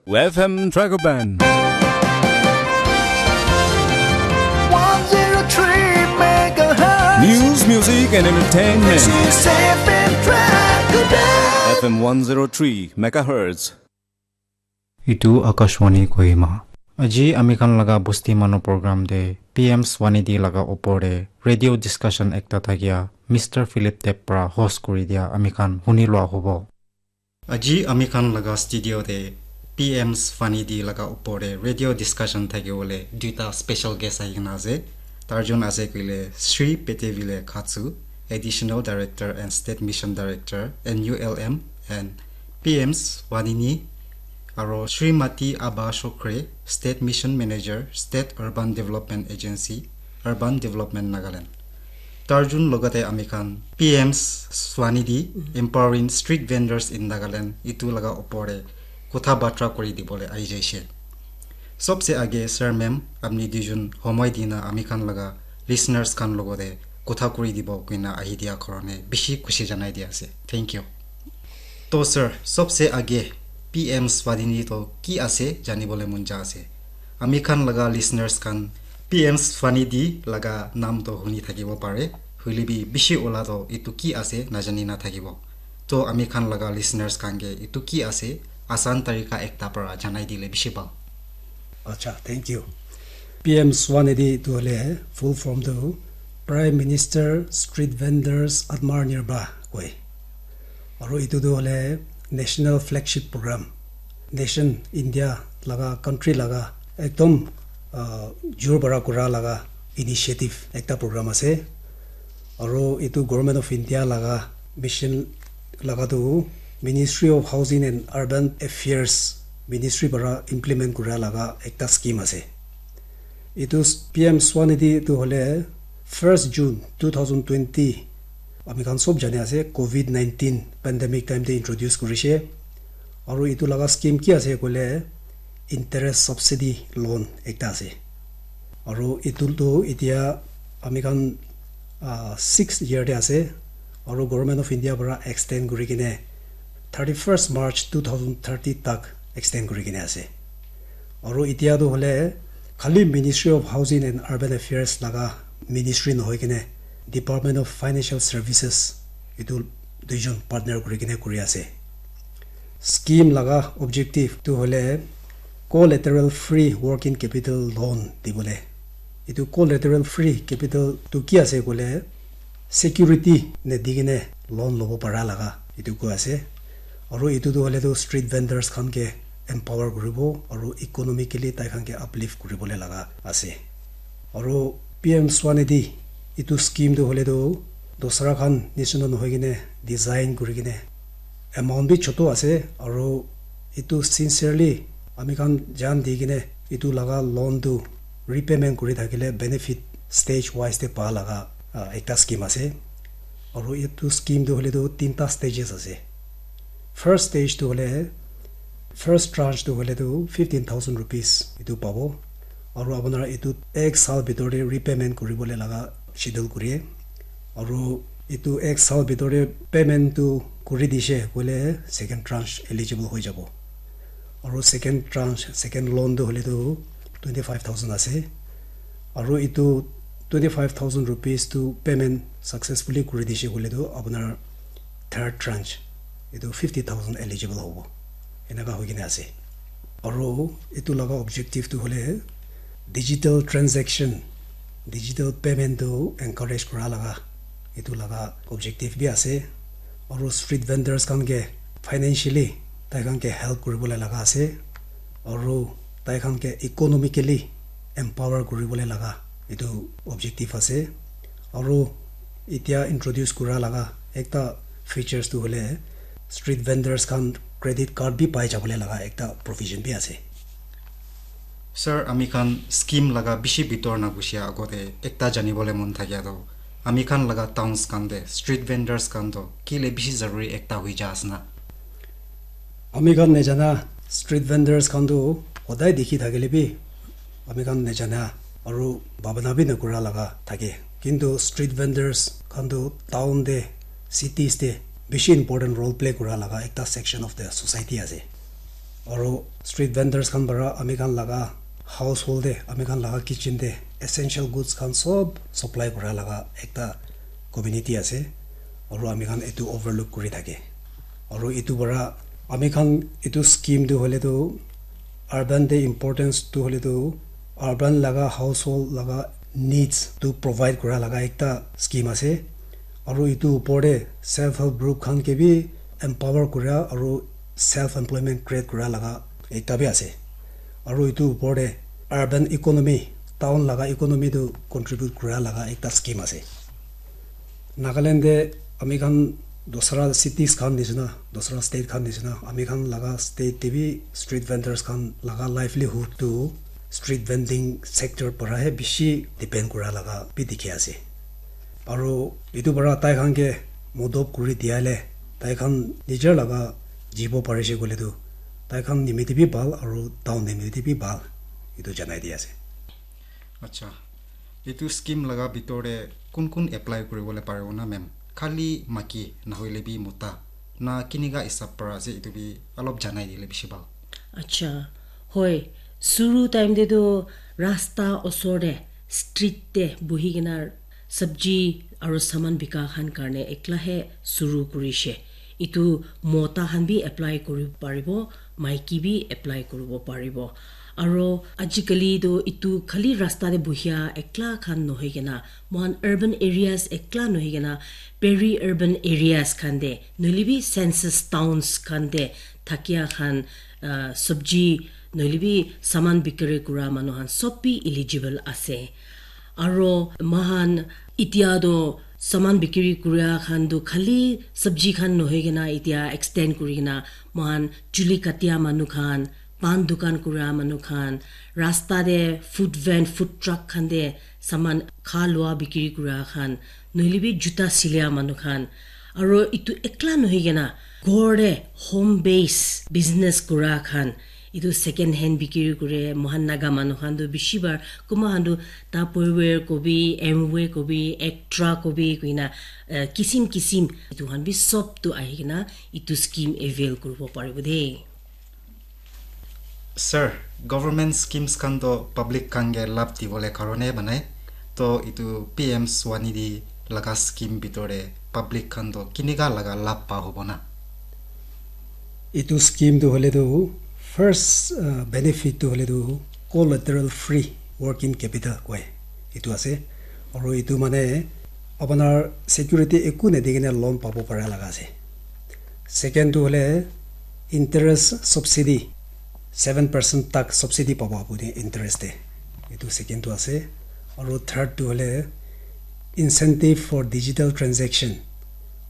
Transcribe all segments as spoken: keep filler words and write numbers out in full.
F M Dragoban. one zero three megahertz. News, music, and entertainment. This is F M Dragoban. F M one zero three megahertz. Itu Akashvani Kohima. Aji ami khan laga Bosti Manu program te P M Swanidhi laga opor te radio discussion ekta thakia Mister Philip Deb pra host kuri dia ami khan huni lua hobo. Aji ami khan laga studio te P M Swanidhi laga opor te radio discussion thaki bole duita special guest ahi kena ase. Tarjun ase koile Sri Petevile Khatsu, Additional Director and State Mission Director, N U L M, and P M Swanini, aro Srimati Abha Shokre, State Mission Manager, State Urban Development Agency, Urban Development Nagaland. Tarjun logate ami khan P M Swanidhi, Empowering Street Vendors in Nagaland, itu laga opor te kotha batra kuri dibole ahi jaise. Sobse age sir ma'am apni duijun homoi dina ami khan laga listeners khan logote kotha kuri dibo koina ahi dia karone bishi khushi janai dia ase. Thank you. To sir, sobse age P M Swanidhi to ki ase janibole mon ja ase. Ami khan laga listeners khan P M Swanidhi laga naam to huni thakibo pare, hoile bi bishi ola to itu ki ase najani na thakibo. To ami khan laga listeners khan ke itu ki ase asan tarika ekta para janai dile bishi bhal. Acha, thank you. P M Swanidhi tu hole full form tu Prime Minister Street Vendors Atmanirbhar koi. Aru itu tu hole national flagship program. Nation India laga country laga ekdom uh, jur bara kura laga initiative ekta program ase. Aru itu Government of India laga mission laga tu Ministry of Housing and Urban Affairs ministry para implement kura laga ekta scheme ase. Itu P M Swanidhi itu hole first June two thousand twenty ami khan sob jane ase COVID nineteen pandemic time te introduce kurishe. Aru itu laga scheme ki ase koile interest subsidy loan ekta ase. Aru itu tu itia ami khan uh, sixth year te ase. Aru Government of India para extend kuri kene thirty first March two thousand thirty tak extend kuri kene ase. Aru itia tu hole khali Ministry of Housing and Urban Affairs laga ministry nohoi kene Department of Financial Services itu duijon partner kuri kene kuri ase. Scheme laga objective tu hole collateral free working capital loan dibole. Itu collateral free capital tu ki ase koile security ne di kene loan lobo para laga itu koi ase. Aru itu tu hole tu street vendors khan ke empower kuribo aru economically tai khan ke uplift kuribole laga ase. Aru P M Swanidhi itu scheme tu hole tu dosra khan nishina nohoi kene design kuri kene amount bi chotu ase aru itu sincerely ami khan jan di kene itu laga loan tu repayment kuri thakile benefit stage wise te pa laga uh, ekta scheme ase. Aru itu scheme tu hole tu tinta stages ase. First stage tu hole first tranche tu hole tu fifteen thousand rupees itu pabo. Aru apuna itu ek sal bitor te repayment kuribole laga schedule kuri. Aru itu ek sal bitor te payment tu kuri dishe koile second tranche eligible hoi jabo. Aru second tranche second loan tu hole tu twenty five thousand ase. Aru itu twenty five thousand rupees tu payment successfully kuri dishe koile tu apunar third tranche itu fifty thousand eligible hobo. Enaka hoi kene ase. Aru itu laga objective tu hole digital transaction, digital payment tu encourage kura laga itu laga objective bi ase. Aru street vendors khan ke financially tai khan ke help kuribole laga ase. Aru tai khan ke economically empower kuribole laga itu objective ase. Aru itia introduce kura laga ekta features tu hole street vendors khan credit card bi pai jabole laga ekta provision bi ase. Sir, ami khan scheme laga bishi bitor na gushia agote ekta janibole mon thakia to ami khan laga towns khan te street vendors khan to kile bishi zaruri ekta hui ja asna. Ami khan nejana street vendors khan tu hodai dikhi thakile bi ami khan nejana aru bhabana bi nakura laga thake. Kintu street vendors khan tu town te cities te bishi important role play kura laga ekta section of the society ase. Aru street vendors khan para ami khan laga household te, ami khan laga kitchen te essential goods khan sob supply kura laga ekta community ase. Aru ami khan etu overlook kuri thake. Aru etu para ami khan etu scheme tu hoile tu urban te importance tu hoile tu urban laga household laga needs tu provide kura laga ekta scheme ase. Aru etu upor te self help group khan ke bi empower kura aru self employment create kura laga ekta bi ase. Aru etu upor te urban economy, town laga economy tu contribute kura laga ekta scheme ase. Nagaland te ami khan dosra cities khan nisna, dosra state khan nisna, ami khan laga state te bi street vendors khan laga livelihood tu street vending sector para he bishi depend kura laga bi dikhi ase. Aru etu para tai khan ke modop kuri dia le tai khan nijer laga jibo parise koile tu tai khan nimite bi bhal aru town nimite bi bhal, etu janai di ase. Acha, etu scheme laga bitor te kun kun apply kuribole paribo na, ma'am? Khali maiki nahoile bi mota na kinika hisab para ase, etu bi alop janai dile bishi bhal. Acha, hoi, suru time te tu rasta osor te, street te buhi kena sabji aru saman bika khan karne ekla he suru kurishe. Etu mota khan bi apply kuri paribo, maiki bi apply kuribo paribo. Aru ajikali tu etu khali rasta te buhia ekla khan nohoi kena, mohan urban areas ekla nohoi kena, peri urban areas khan te, nohole bi census towns khan te thakia khan, ah, sabji nohole bi saman bikiri kura manu khan sob bi eligible ase. Aro mohan etia toh saman bikiri kuria khan toh khali sabji khan nohoi kena etia extend kuri kena mohan chuli katia manu khan, pan dukan kuria manu khan, rasta te food van, food truck khan te saman kha lua bikiri kuria khan, nohole bi juta silia manu khan, aro etu ekla nohoi kena ghor te home base business kura khan, etu second hand bikiri kure, mohan Naga manu khan tu bishi bar, kunba khan tu Tupperware kobi, Amway kobi, Extra kobi koina, eh, kisim kisim etu khan bi sob tu ahi kena etu scheme avail kuribo paribo de. Sir, government schemes khan to public khan ke labh dibole karone banai. To etu P M Swanidhi laga scheme bitor te public khan to kinika laga labh pa hobo na? Etu scheme tu hoile tu first, uh, benefit tu hoile tu collateral free working capital koi. Etu ase. Aru etu mane apunar security eku nadi kena loan pabo para laga ase. Second tu hoile interest subsidy, seven percent tak subsidy pabo apuni interest te. Etu second tu ase. Aru third tu hoile incentive for digital transaction.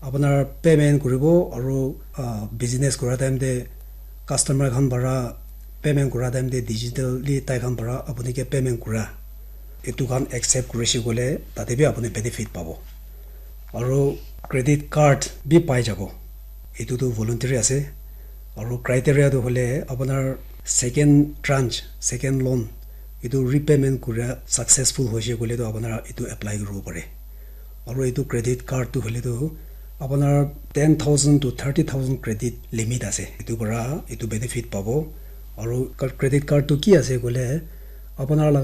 Apunar payment kuribo aru, ah, business kura time te customer khan para payment kura time te digitally tai khan para apuni ke payment kura. Etu khan accept kurise koile tate bi apuni benefit pabo. Aru credit card bi pai jabo. Etu tu voluntary ase. Aru criteria tu hoile apunar second tranche, second loan, etu repayment kura successful hoise koile tu apunar etu apply kuribo pare. Aru etu credit card tu hoile tu apunar ten thousand to thirty thousand credit limit ase. Etu para etu benefit pabo. Aru card, credit card tu ki ase koile apunar laga